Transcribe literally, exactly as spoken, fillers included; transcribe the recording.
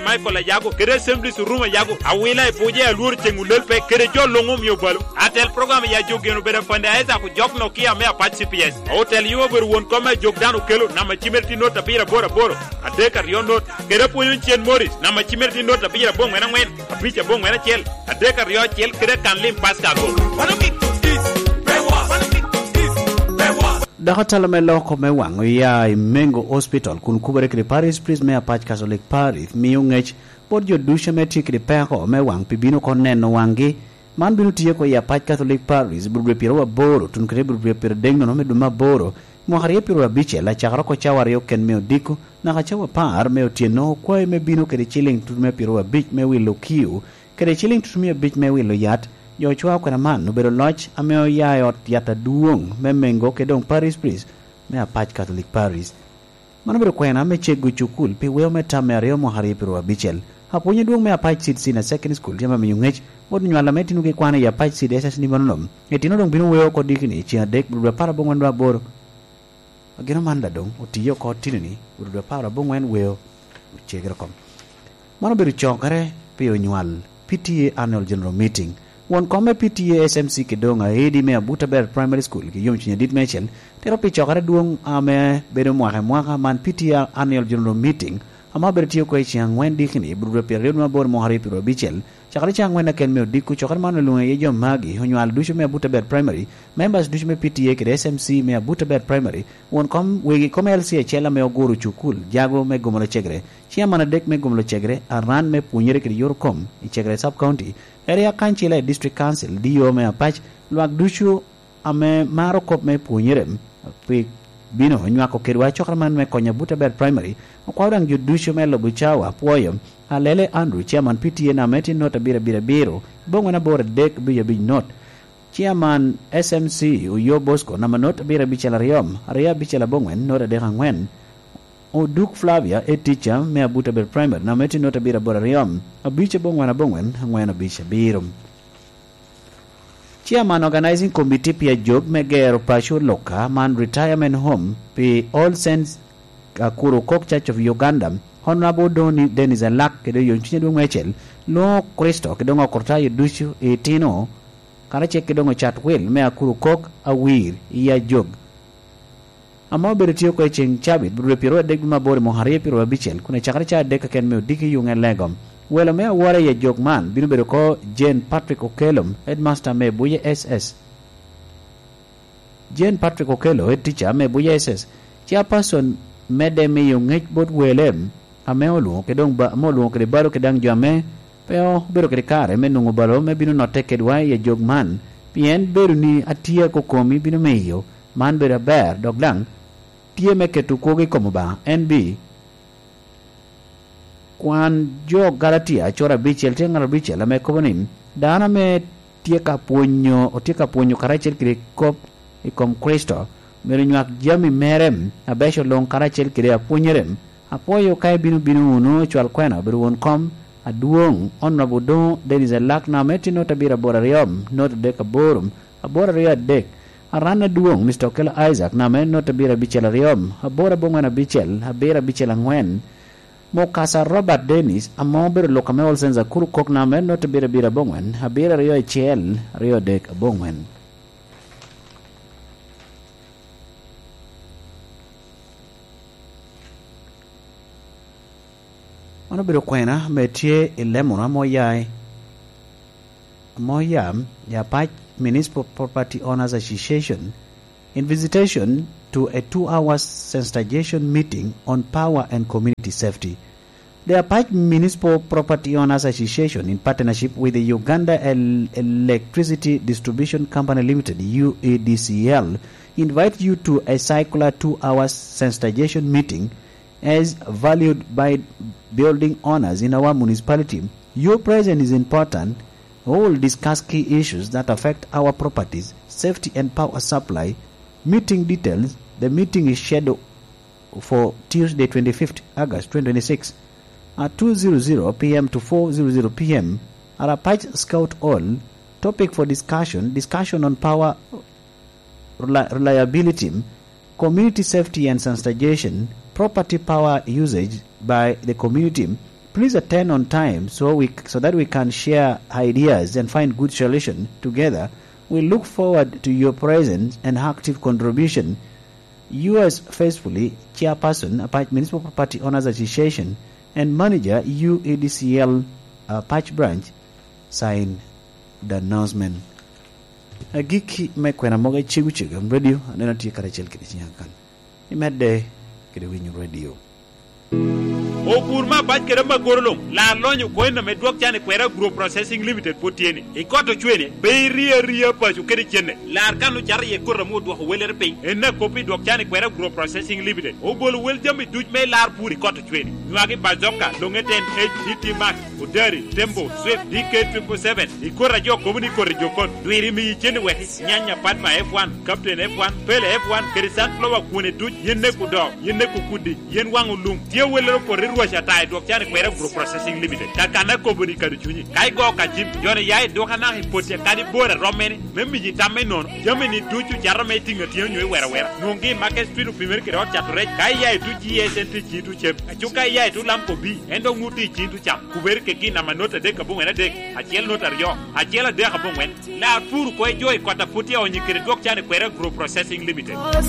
Michael Ayago, kede Assemblies Orumo Ayago, Awila i Buja, Alwor Ceŋ Olel Pek, kede jo luŋ omio balo. Atel program ya jo geno bedo Afande Isaac Ojok Nokia me Apac C P S. Otel yo obedo won kom me ajok dano okelo, namba cimere tye not abiro aboro aboro, adek aryo not, kede apwonyo cen Morris, namba cimere tye not abiro aboŋwen aŋwen, abic aboŋwen acel, adek aryo acel, kede kan lim Pascal Ago. Dok atalo me loko me waŋ oya i Mengo Hospital kun kubere kede Parish Priest me Apac Catholic Parish miyo ŋec bot jo ducu ame tye kede peko me waŋ pi bino oko neno waŋgi. Man bino tye oko i Apac Catholic Parish, bur dwe pyeraryo aboro, tun kede bur dwe pyeradek nono me dwe me aboro, mwaka aryo pyeraryo abicel, acakere oko cawa aryo ken me odiko, naka cawa apar me otyeno, okwayi me bino kede ciliŋ tut me pyeraryo abic me wilo kiu, kede ciliŋ tut mia abic me wilo yat, jo ocwao kwena man obedo loc ame oya i ot yat adwoŋ me Mengo kede doŋ Parish Priest me Apac Catholic Parish. Man obedo kwena me cego cukul pi weo me tam me aryo mwaka aryo pyeraryo abicel. Apwony adwoŋ me Apac Seed Senior Secondary School tye ame miyo ŋec bot onywal ame tinogi kwano i Apac Seed S S ni manono. Itino doŋ bino weo oko dikini i ceŋ adek, bur dwe apar aboŋwen dwe aboro. Ageno man daŋ doŋ otiye oko tino-ni, bur dwe apar aboŋwen weo ocegere oko. Man obedo cokere pi onywal P T A Annual General Meeting. Won kom me P T A S M C kede doŋ aedi me Abuta Beret Primary School ki yomcwiny adit meicel tero pi cokere dwoŋ ame bedo mwaka i mwaka man P T A Annual General Meeting, ame obedo tye oko i ceŋ aŋwen dikini, bur dwe pyeraryo dwe aboro mwaka aryo pyeraryo abicel, cakere ceŋ aŋwen aken me odiko. Cokere man olwoŋo iye jo magi, onywal ducu me Abuta Beret Primary, members ducu me P T A kede S M C me Abuta Beret Primary, won kom, wegi kom L C acel ame oguro cukul, jago me Gomolo Cegre, ciaman adek me Gomolo Cegre, aran me pwonyere kede yor kom i Cegre Sub County, area kancila i District Council, D O me Apac, lwak ducu ame maro kop me pwonyere, pi bino nywako kedwa cokere man me konyo Abuta Beret Primary, okwao daŋ jo ducu me lubo cawa apwoyo, Alele Andrew, ciaman P T A namba me tye not abiro abiro abiro, boŋwen aboro adek abic abic not. Ciaman S M C Oyo Bosco, namba not abiro abicel aryo, aryo abicel aboŋwen, not adek aŋwen. Oduk Flavia, e tica me Abuta Beret Primary, namba me tye not abiro aboro aryo, abic aboŋwen aboŋwen, aŋwen abic abiro. Chairman Organizing Committee pi ajog me gero paco Luka man Retirement Home pi All Saints Akuru Kok Church of Uganda, Honorable Doni Dennis Alak kede oyomcwiny adwoŋ meicel, lwoŋo Kricito kede doŋ okritayo ducu i itino, karacel kede doŋ ocat wil me Akuru Kok Awir i ajog. Ame obedo tye oko i ceŋ cabit, rwod pyeraryo adek dwe me aboro i mwaka aryo pyeraryo abicel, kun ecakere ca adek keken me odiki i Yuŋe Legom. Welo me awora i ajok man bino bedo oko Jane Patrick Okello, headmaster me Buye S S. Jane Patrick Okello, head teacher me Buye S S, chairperson, medde miyo ŋec bot wele ame olwoŋo kede doŋ ba-, ame olwoŋo kede balo kede daŋ jo ame pe obedo kede kare me nwoŋo balo me bino notte kedwa i ajok man, pien bedo ni atye akokomi bino miyo man bedo aber, dok daŋ tye me keto kwogo i kom Obaŋa. N B, kwan jo Galatia acura abicel tye ŋat abicel ame kobo ni, dano ame tye ka pwonyo, otye ka pwonyo karacel kede kop i kom Kricito, myero nywak jami mere abeco luŋ karacel kede apwonyere. Apwoyo ka ibino bino wunu, cwal kwena obedo won kom adwoŋ, Honorable Odoŋo Dennis Elak, namba me tye not abiro aboro aryo, not adek aboro, aboro aryo adek. Aran adwoŋ, Mister Okello Isaac, namba me not abiro abicel aryo, aboro aboŋwen abicel, abiro abicel aŋwen. Mukasa Robert Dennis, ame obedo lok ame All Saints Akuru Kok, namba me not abiro abiro aboŋwen, abiro aryo acel, aryo adek aboŋwen. Man obedo kwena ame tye i lemona ame oya i, ame oya i Apac Municipal Property Owners Association, in visitation to a two-hour sensitization meeting on power and community safety. The Apac Municipal Property Owners Association, in partnership with the Uganda El-, Electricity Distribution Company Limited, U E D C L, invite you to a circular two-hour sensitization meeting as valued by building owners in our municipality. Your presence is important. We will discuss key issues that affect our properties, safety and power supply. Meeting details. The meeting is scheduled for Tuesday, twenty-fifth August twenty twenty-six, at two zero zero P M to four zero zero P M at Apac Scout Hall. Topic for discussion: discussion on power reli-, reliability, community safety and sensitization, property power usage by the community, Please attend on time so we, so that we can share ideas and find good solution together. We look forward to your presence and active contribution. Yours faithfully, Chairperson, Apac Municipal Property Owners Association, and Manager, U E D C L, Apac Branch, sign the announcement. Agikki me kwena mogo i Cegu Cegu Radio, aneno tye karacel kede cinya kan. Imedde kede winyo radio. Opur me abac kede amagoro luŋ, lar lonyo kono ame dwok can i kwera Agro Processing Limited pwod tye ni. I kot ocwene, pe irie aria paco kede cenne. Lar kan ocato iye koti ame odwoko wellere piny. En akop i dwok can i kwera Agro Processing Limited. Obolo wel jami duc me lar pur i kot ocwene. Nywagi Bazooka, Long-Ten, H D T Max, Odari, Tembo, Swift, D K triple seven. I koti a jo kobo ni koti jokon. Dwiri miyi cen i wek nyanya Padma F one, Captain F one, Pele F one, kede sunflower kwone duc, yen neko doo, yen neko kudi, yen waŋ olum. Tye wellere opoto i rwac ata i dwok can i kwera Agro Processing Limited. Kakana kobo ni kadi cunyi. Ka igo ka cim, joni ya i dwok anaka i poti kadi bor a rom mene, me miyi tam me nono. Jami ni ducu cato me tiŋ atyen onyo i wera wera. Nwoŋgi i Market Street opimere kede ot cato rec. Ka iya i tuc G S N T cito cem. Aco ka iya i tuc Lamco B, en dok ŋut i cito cam. Kubere kegi namba not adek aboŋwen adek, acel not aryo, acel adek aboŋwen. Lar pur oko i jo i kot a pwod tye onyi kede dwok can i kwera Agro Processing Limited.